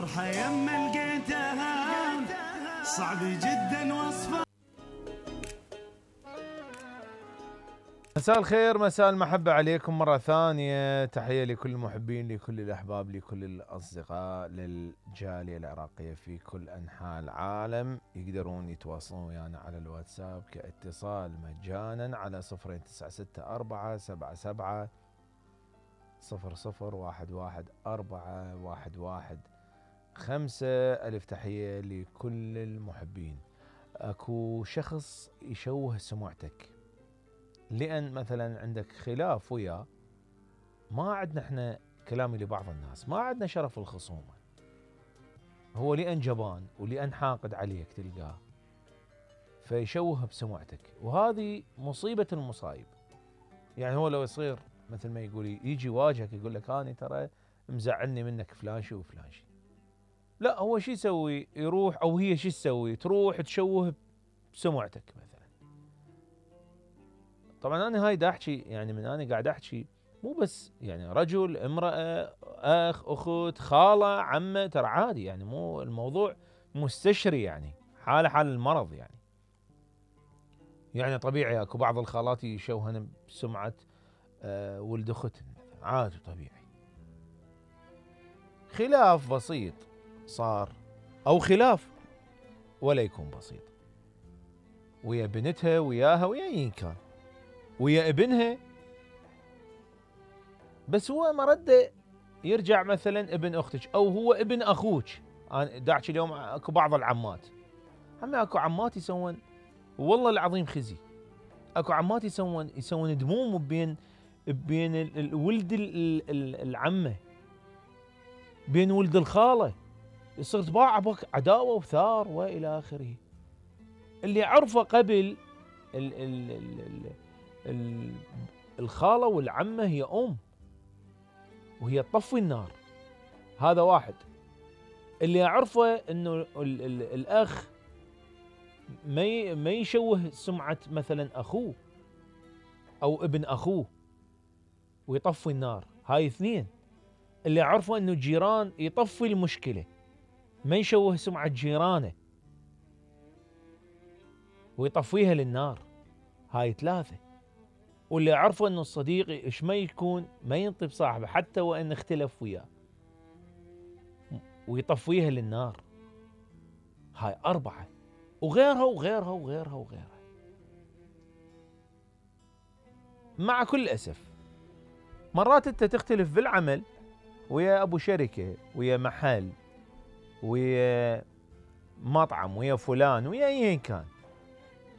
فرحة يما لقيتها صعب جدا وصفها. مساء الخير، مساء المحبة عليكم مرة ثانية. تحية لكل المحبين، لكل الأحباب، لكل الأصدقاء، للجالية العراقية في كل أنحاء العالم. يقدرون يتواصلون ويانا على الواتساب كاتصال مجانا على 02977700111415. ألف تحية لكل المحبين. أكو شخص يشوه سمعتك لأن مثلا عندك خلاف وياه، ما عندنا احنا كلامي لبعض الناس، ما عندنا شرف الخصومة، هو لأن جبان ولأن حاقد عليك تلقاه فيشوه بسمعتك، وهذه مصيبة المصايب. يعني هو لو يصير مثل ما يقول يجي واجهك يقول لك أنا ترى مزعلني منك فلان شي وفلان شي، لا هو شي يسوي؟ يروح أو هي شي تسوي؟ تروح تشوه بسمعتك مثلا. طبعا انا هاي دا احكي، يعني من انا قاعد احكي مو بس يعني رجل، امرأة، اخ، اخت، خالة، عمة، ترى عادي، يعني مو الموضوع مستشري، يعني حال المرض. يعني طبيعي اكو بعض الخالات يشوهن بسمعة ولد اختن، عادي طبيعي. خلاف بسيط صار، او خلاف ولا يكون بسيط، ويا بنتها وياها ويا ايا كان، ويا ابنها، بس هو مرده يرجع مثلا ابن اختك او هو ابن اخوك. انا داعش اليوم اكو بعض العمات، هم اكو عمات يسوون والله العظيم خزي، اكو عمات يسوون دموم بين الولد العمه، بين ولد الخاله، يصير تباع بك عداوه وثار والى اخره. اللي عرفه قبل ال ال ال ال الخاله والعمه هي وهي تطفي النار، هذا واحد. اللي اعرفه انه الاخ ما يشوه سمعة مثلا اخوه او ابن اخوه ويطفي النار، هاي اثنين. اللي اعرفه انه الجيران يطفي المشكلة، ما يشوه سمعة جيرانه ويطفيها للنار، هاي ثلاثة. واللي اعرفه انه الصديق ايش ما يكون ما ينطي بصاحبه حتى وان اختلف وياه ويطفيها للنار، هاي أربعة، وغيرها وغيرها وغيرها وغيرها. مع كل أسف مرات أنت تختلف بالعمل ويا أبو شركة، ويا محل، ويا مطعم، ويا فلان، ويا أيا كان،